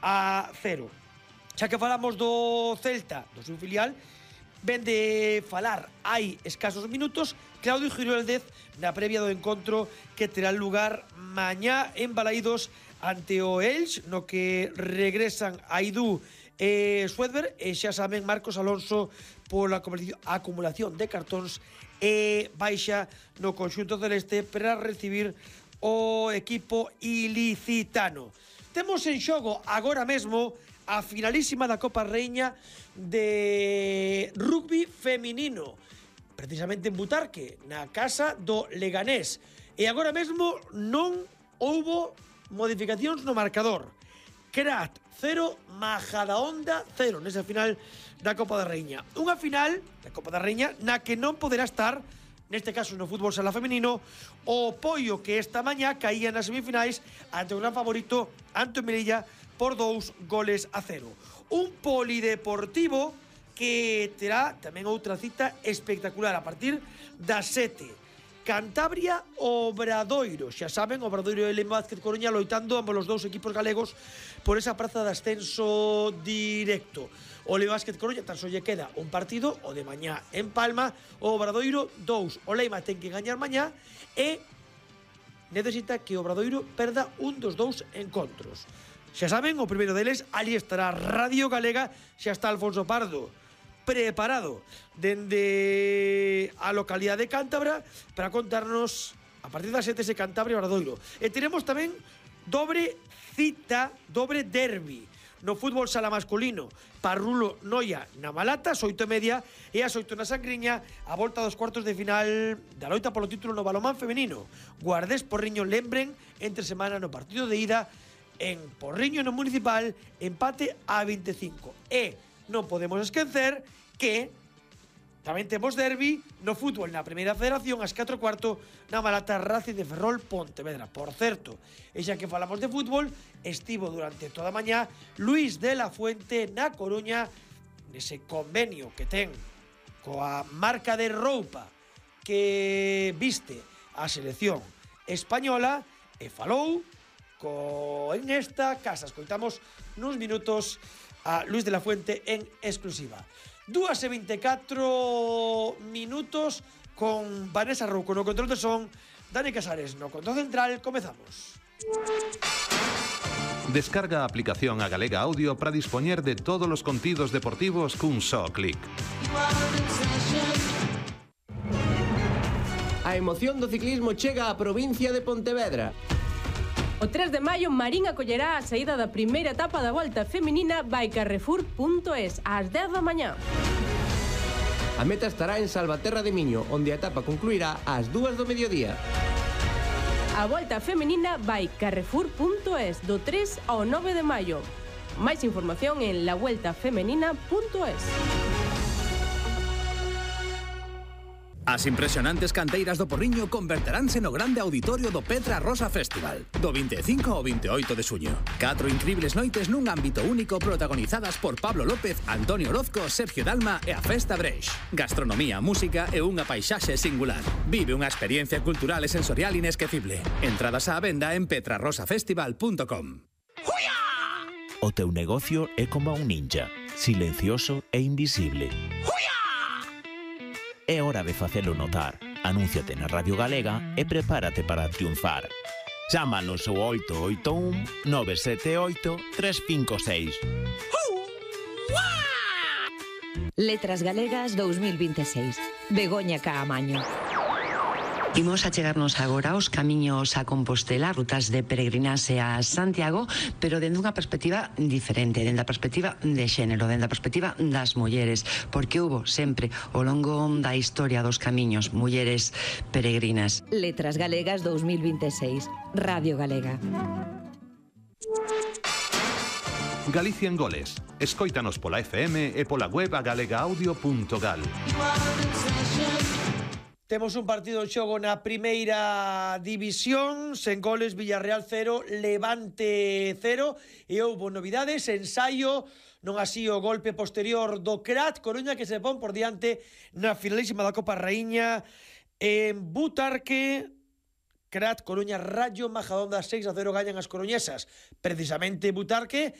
Xa que falamos do Celta, do seu filial, ven de falar hai escasos minutos Claudio Giroldez na previa do encontro que terá lugar mañá en Balaídos ante o Elx, no que regresan Aidú e Suedberg, e xa saben Marcos Alonso pola acumulación de cartóns e baixa no conxunto celeste para recibir o equipo ilicitano. Temos en xogo agora mesmo a finalísima da Copa Reina de rugby feminino, precisamente en Butarque, na casa do Leganés. E agora mesmo non houbo modificacións no marcador. Crat 0, Majadahonda 0 nesa final da Copa da Reina. Unha final da Copa da Reina na que non poderá estar, neste caso no fútbol sala femenino, o Poio, que esta mañá caía nas semifinais ante o gran favorito Anto Melilla por 2-0. Un polideportivo que terá tamén outra cita espectacular a partir das 7. Cantabria Obradoiro, xa saben, Obradoiro e Lema Vázquez Coruña loitando ambos os dous equipos galegos por esa praza de ascenso directo. O Lema Vázquez Coruña tan só lle queda un partido, o de mañá en Palma, o Obradoiro 2. O Lema ten que gañar mañá e necesita que o Obradoiro perda un dos dous encontros. Xa saben, o primeiro deles, ali estará Radio Galega, xa está Alfonso Pardo preparado dende a localidade de Cántabra para contarnos a partir das 7 ese Cantabria Obradoiro. E teremos tamén dobre cita, dobre derbi no fútbol sala masculino. Parrulo Noia na Malata, ás 8:30, e ás 8 na Sangriña, a volta dos cuartos de final da loita polo título no balonmán femenino. Guardés Porriño lembren entre semana no partido de ida en Porriño no Municipal, empate a 25. E non podemos esquecer que tamén temos derbi no fútbol na Primeira Federación ás 4:15 na Malata Racing de Ferrol Pontevedra. Por certo, e xa que falamos de fútbol, estivo durante toda a mañá Luis de la Fuente na Coruña nese convenio que ten coa marca de roupa que viste a selección española e falou en esta casa. Escoitamos nuns minutos a Luis de la Fuente en exclusiva. 2:24 minutos con Vanessa Rouco no control de son, Dani Casares no control central. Comezamos. Descarga a aplicación a Galega Audio para dispoñer de todos os contidos deportivos cun só clic. A emoción do ciclismo chega á provincia de Pontevedra. O 3 de maio, Marín acollerá a saída da primeira etapa da Volta Feminina by Carrefour.es ás 10 da mañá. A meta estará en Salvaterra de Miño, onde a etapa concluirá ás 2 do mediodía. A Volta Feminina by Carrefour.es do 3 ao 9 de maio. Máis información en lavueltafemenina.es. As impresionantes canteiras do Porriño converteránse no grande auditorio do Petra Rosa Festival, do 25 ao 28 de xuño. 4 incribles noites nun ámbito único protagonizadas por Pablo López, Antonio Orozco, Sergio Dalma e a Festa Breix. Gastronomía, música e unha paisaxe singular. Vive unha experiencia cultural e sensorial inesquecible. Entradas á venda en petrarosafestival.com. O teu negocio é como un ninja, silencioso e invisible. É hora de facelo notar. Anúnciate na Radio Galega e prepárate para triunfar. Chámanos ao 881 978 356. Letras Galegas 2026. Begoña Caamaño. Imos a chegarnos agora aos camiños a Compostela, rutas de peregrinaxe a Santiago, pero dende unha perspectiva diferente, dende a perspectiva de xénero, dende a perspectiva das mulleres, porque hubo sempre ao longo da historia dos camiños mulleres peregrinas. Letras Galegas 2026. Radio Galega. Galicia en goles. Escóitanos pola FM e pola web a galegaaudio.gal. Temos un partido en xogo na primeira división, sen goles, Villarreal 0, Levante 0, e houbo novidades, ensaio, non así o golpe posterior do Crat Coruña, que se pon por diante na finalísima da Copa Raíña en Butarque. Crat Coruña, Rayo Majadahonda 6-0 gañan as coruñesas. Precisamente Butarque,